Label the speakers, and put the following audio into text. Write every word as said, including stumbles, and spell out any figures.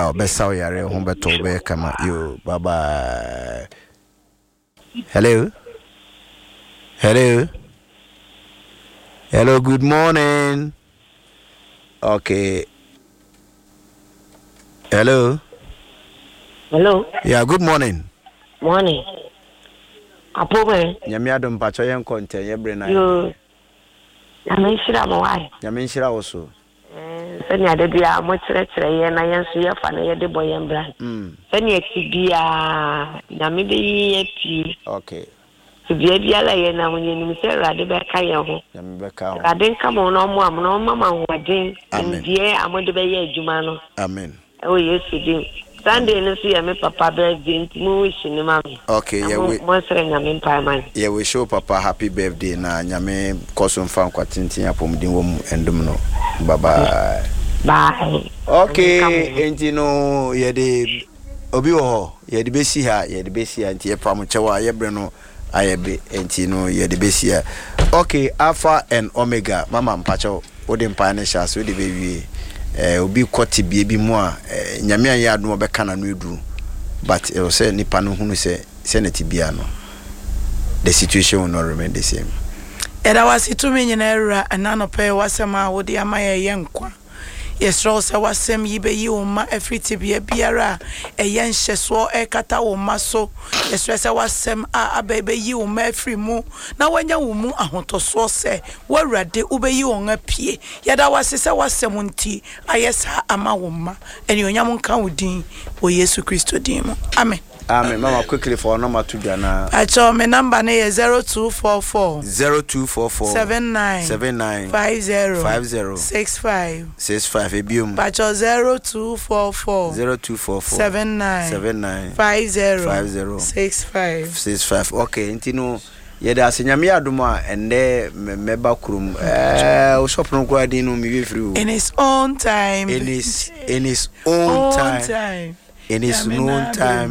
Speaker 1: Ɔbɛsa wo yare, ho bɛtɔ wo, bɛyɛ kama. Yo, bye bye. Hello, hello, hello, good morning. Okay, hello.
Speaker 2: Hello.
Speaker 1: Yeah, good morning.
Speaker 2: Morning. Apome.
Speaker 1: Nyame adom, mpakyɛ, yɛnkɔ ntɛn, yɛbrɛ na.
Speaker 2: Yo. Nyame nhyira mo wae.
Speaker 1: Nyame nhyira wo so.
Speaker 2: Sɛnea da biara mokyerɛkyerɛ yɛn na yɛn nso yɛfa na yɛde bɔ yɛn bra.
Speaker 1: Mm.
Speaker 2: Sɛnea ti biara Nyame bɛyi yɛn pie.
Speaker 1: Okay.
Speaker 2: Bea biara yɛn nam, yɛnim sɛ Awurade bɛka yɛn ho.
Speaker 1: Nyame bɛka ho.
Speaker 2: Awurade nka mo na ɔmo am na ɔma mo ahoɔden.
Speaker 1: Amen.
Speaker 2: Nimdeɛ a mode bɛyɛ adwuma no.
Speaker 1: Amen.
Speaker 2: Ɛwɔ Yesu din. Sunday no nso yɛ me papa birthday, nti mo wish ne ma me.
Speaker 1: Okay.
Speaker 2: Na
Speaker 1: yɛwe
Speaker 2: mo monsrɛ Nyame mpae ma me.
Speaker 1: Yɛwe show papa happy birthday, na Nyame kɔ so mfa nkwa tenten, apɔmuden wɔ mu ɛndom no. Bye bye.
Speaker 2: Bye.
Speaker 1: Okay.
Speaker 2: Nyame nka mo ho.
Speaker 1: Enti no yɛde obi wɔ hɔ, yɛde bɛsi ha, yɛde bɛsi ha, nti yɛpa mo kyɛw a yɛbrɛ no ayɛ be, nti no yɛde bɛsi ha. Okay, Alpha and Omega, mama mpakyɛw, wode mpae no hyɛ ase, wode bɛwie. eh, obi kɔ tebea bi mu a, eh, Nyame anyɛ adom a ɔbɛka n'ano aduru, but ɛwɔ sɛ nipa no hunu sɛ sɛ ne tebea no, the situation will not remain the same.
Speaker 3: Yɛda wase, tumi nyinaa Awura, ɛna anɔpɛ yi w'asɛm a wode ama yɛ yɛ nkwa. Yɛsrɛ wo sɛ w'asɛm yi bɛyi wo mma afiri tebea biara a ɛyɛ nhyɛsoɔ ɛrekata wo mma so. Yɛsrɛ sɛ w'asɛm a aba yi bɛyi wo mma afiri mu na woanya wo mu ahotɔsoɔ sɛ wo Awurade wobɛyi wɔn apue. Yɛda wase sɛ w'asɛm nti ayɛ saa ama wo mma. Anuonyam nka wo din wɔ Yesu Kristo din mu, amen.
Speaker 1: Amen. Mama, quickly, for number to dwa na.
Speaker 3: Akyɛw, me number no yɛ zero two four four
Speaker 1: zero two four four
Speaker 3: seven nine
Speaker 1: seven nine
Speaker 3: five zero
Speaker 1: five zero
Speaker 3: six five.
Speaker 1: six five. Ebiom.
Speaker 3: Pakyɛw, zero two four four
Speaker 1: zero two four four
Speaker 3: seven nine
Speaker 1: seven nine
Speaker 3: five zero
Speaker 1: five zero
Speaker 3: six five.
Speaker 1: six five. Okay, nti no yɛde ase. Nyame yɛ adom a, ɛndɛ mɛ- mɛba kurom. ɛɛ wo shop no koraa din no mewie firi o.
Speaker 3: In His own time.
Speaker 1: In his in his own
Speaker 3: own
Speaker 1: time.
Speaker 3: Time.
Speaker 1: In His
Speaker 3: Nyame
Speaker 1: own
Speaker 3: na
Speaker 1: time.